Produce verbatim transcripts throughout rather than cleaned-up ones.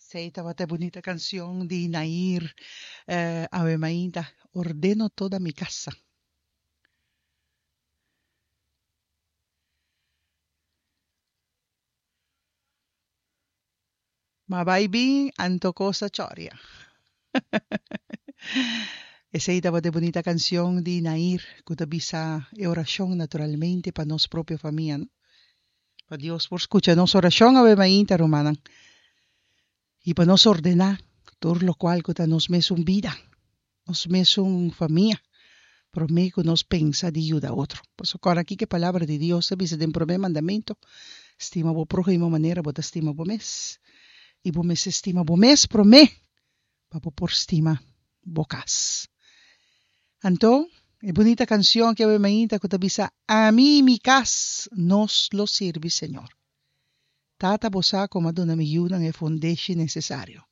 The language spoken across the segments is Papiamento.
Esey tabata e bunita cancion di Nair eh, Ave Mainta, Ordeno toda mi casa. Ma bai bin anto cos a choria. Esey tabata e bunita cancion di Nair cu ta bisa e oracion naturalmente pa nos propio famia, no? Pa Dios por scucha nos oracion awe mainta, rumannan, y pa nos ordena tur locual cu ta nos mesun bida, nos mesun famia, prome cu nos pensa di yuda otro. Pasobra cora aki cu e palabra di Dios ta bisa den prome mandamento, Stima bo prohimo manera bo ta stima bo mes. Y bo mester stima bo mes prome pa bo por stima bo cas. Anto, e bunita cancion aki awe mainta cu ta bisa, Ami y mi cas, nos lo sirbi Señor. Tata bo sa como a duna mi yunan e fundeshi necesario.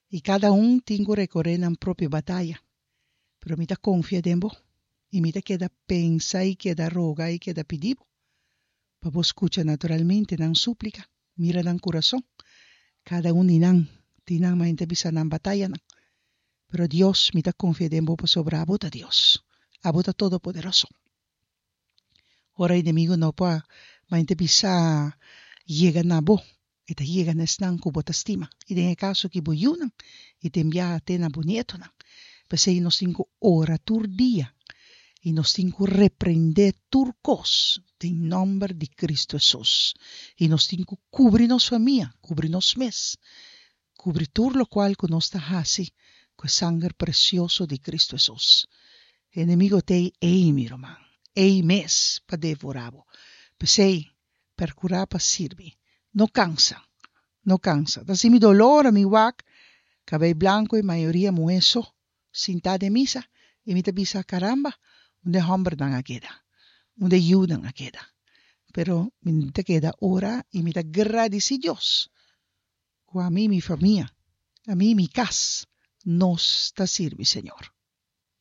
Y cada un tin cu recore nan propio bataya. Pero mi ta confia den bo y mi ta keda pensa y keda roga y keda pidi bo pa bo scucha naturalmente nan suplica, mira nan curason. Cada un di nan tin nan maente bisa nan batayanan. Pero Dios, mi ta confia den bo pasobra abo ta Dios. Abo ta Todopoderoso. Ora enemigo no por maente bisa yega na bo, e ta yega na esnan cu bo ta stima, y den e caso aki bo yiunan, y tin biaha te na bo nietonan. P'esey nos tin cu ora tur dia, y nos tin cu reprende tur cos den nomber di Cristo Hesus. Y nos tin cu cubri nos famia, cubri nos mes, cubri tur locual cu nos ta haci cu e sanger precioso di Cristo Hesus. E enemigo t'ey ey, mi ruman, ey mes pa devora bo. P'esey, percura pa sirbi. No cansa, no cansa. Ta haci mi dolor ami wak cabey blanco y mayoria muhe so sinta den misa y mi ta bisa, caramba, unda e hombernan a keda? Unda e yiunan a keda? Pero mi ta keda ora y mi ta gradici Dios cu ami y mi famia, ami y mi cas, nos ta sirbi Señor.